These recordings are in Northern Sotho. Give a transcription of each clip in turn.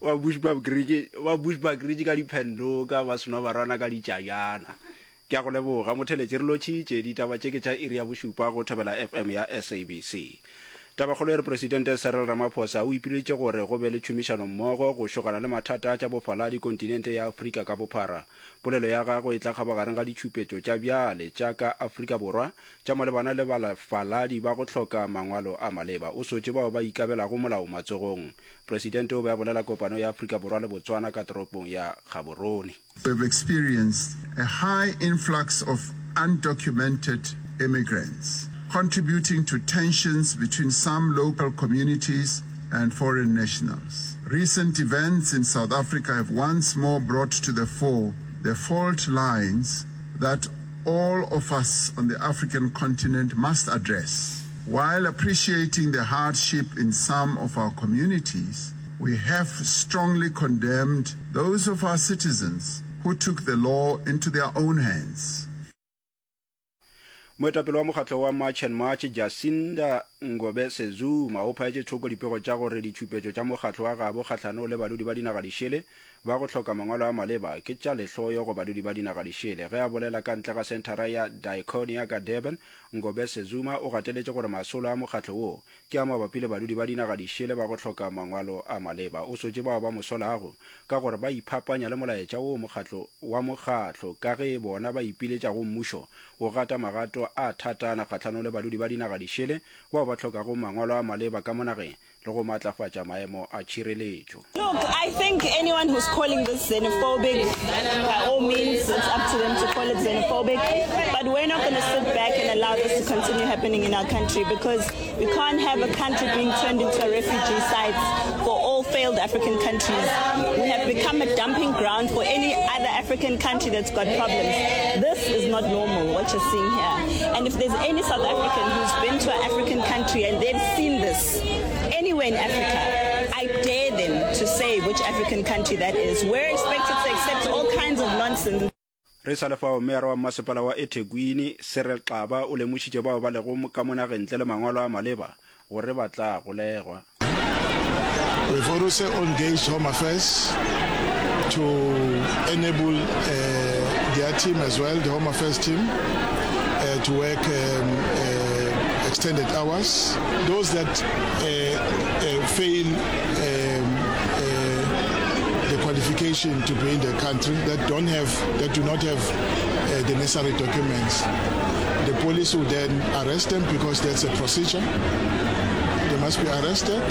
Ba Bushbuckridge, ba Bushbuckridge ka diphendoka, ba seno ba rwana ka ditšajana. Ke a go leboga, motheletši. Re lotšhitše. Ditaba tše ke tša iri ya bošupa go Thobela FM ya SABC. Tabakgolo e re Presidente Cyril Ramaphosa o ipileditše gore go be le tšhomišanommogo go šogana le mathata a tša bofaladi kontinente ya Afrika ka bophara. Polelo ya gagwe e tla kgabagareng ga ditšhupetšo tša bjale tša ka Afrika Borwa tša malebana le balefaladi ba go hloka mangwalo a maleba. O sotše bao ba ikabelago molao matsogong. Presidente o be a bolela kopano ya Afrika Borwa le Botswana ka toropong ya Gaborone. We've experienced a high influx of undocumented immigrants, contributing to tensions between some local communities and foreign nationals. Recent events in South Africa have once more brought to the fore the fault lines that all of us on the African continent must address. While appreciating the hardship in some of our communities, we have strongly condemned those of our citizens who took the law into their own hands. Moetapele wa mokgatlo wa March and March, Jacinda Ngobese-Zuma, o phaetše thoko dipego tša gore ditšhupetšo tša mokgatlo wa gabo kgahlanong le badudi ba dinaga dišele ba go hloka mangwalo a maleba ke tša lehloyo go badudi ba dinaga dišele. Ge a bolela ka ntle ga senthara ya Diaconia ka Durban, Ngobese-Zuma o gateletše gore masolo a mokgatlo wo ke a mabapi le badudi ba dinaga dišele ba go hloka mangwalo a maleba. O sotše bao ba mo solago ka gore ba iphapanya le molaetša wo mokgatlo wa mokgatlo ka ge bona ba ipiletša go mmušo go gata magato a thatana kgahlanong le badudi ba dinaga dišele bao ba hlokago mangwalo a maleba ka mo nageng le go matlafatša maemo a tšhireletšo. Look, I think anyone who's calling this xenophobic, by all means, it's up to them to call it xenophobic. But we're not going to sit back and allow this to continue happening in our country because we can't have a country being turned into a refugee site for all failed African countries. We have become a dumping ground for any other African country that's got problems. This is not normal, what you're seeing here. And if there's any South African who's been to an African country and they've seen this anywhere in Africa, I dare them to say which African country that is. We're expected to accept all kinds of nonsense. Re sa le fao, Meyara wa Mmasepala wa eThekwini, Cyril Xaba, o lemošitše bao ba lego ka mo nageng ntle le mangwalo a maleba gore ba tla golegwa. We've also engaged Home Affairs to enable uh, their team as well, the Home Affairs team, uh, to work um, uh, extended hours. Those that uh, uh, fail um, uh, the qualification to be in the country, that don't have, that do not have uh, the necessary documents, the police will then arrest them because that's a procedure. They must be arrested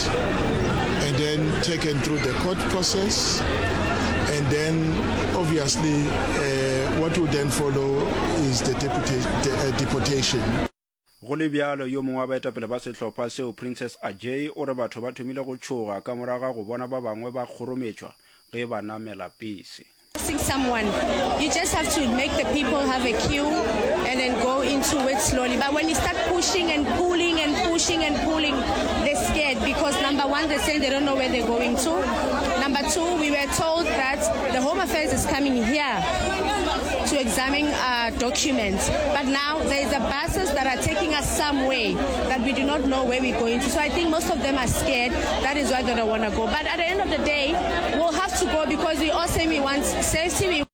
and then taken through the court process. And then, obviously, uh, what will then follow is the, deputa- the uh, deportation. Go le bjalo, yo mongwe wa baetapele ba sehlopha seo, Princess Ajay, o re batho ba thomile go tšhoga ka morago ga go bona ba bangwe ba kgorometšwa ge ba namela pese. Seeing someone, you just have to make the people have a queue and then go into it slowly. But when you start pushing and pulling and pushing and pulling, they're scared because number one, they're saying they don't know where they're going to. Number two, we were told that the Home Affairs is coming here to examine our documents. But now there's a buses that are taking us somewhere that we do not know where we're going to. So I think most of them are scared. That is why they don't want to go. But at the end of the day, we'll have to go because we all say we want safety. We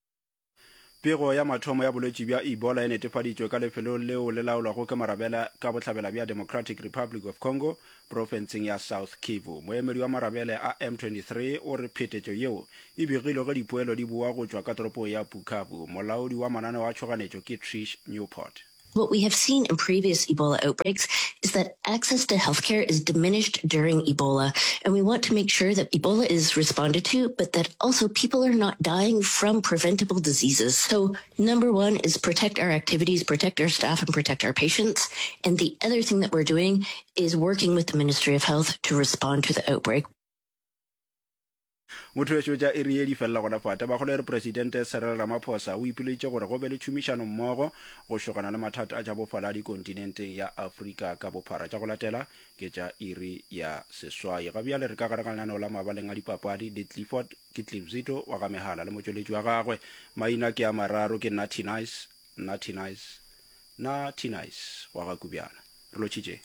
Pego ya mathomo ya bolwetši bja Ebola e netefaditšwe ka lefelong leo le laolwago ke marabele ka bohlabela bja Democratic Republic of Congo, profenseng ya South Kivu. Moemedi wa marabele a M23 o re phetetšo yeo e begilwe ge dipoelo di boa go tšwa ka toropong ya Bukavu. Molaodi wa mananeo a tšhoganetšo ke Trish Newport. What we have seen in previous Ebola outbreaks is that access to healthcare is diminished during Ebola, and we want to make sure that Ebola is responded to, but that also people are not dying from preventable diseases. So number one is protect our activities, protect our staff, and protect our patients. And the other thing that we're doing is working with the Ministry of Health to respond to the outbreak. Motho wešo tša iri ye di felela gona fa. Tabakgolo e re Presidente Cyril Ramaphosa o ipileditše gore go be le tšhomišano mmogo go šogana le mathata a tša bofaladi kontinenteng ya Afrika ka bophara. Tša go latela ke tša iri ya seswai. Ga bjale re ka gare ga lenaneo la mabaleng a dipapadi le Clifford ke Cliff Zito wa ga Mehala le motšweletši wa gagwe. Maina ke a mararo ke Natty Nice, Natty Nice, Natty Nice wa ga Kubjana. Re lotšhitše.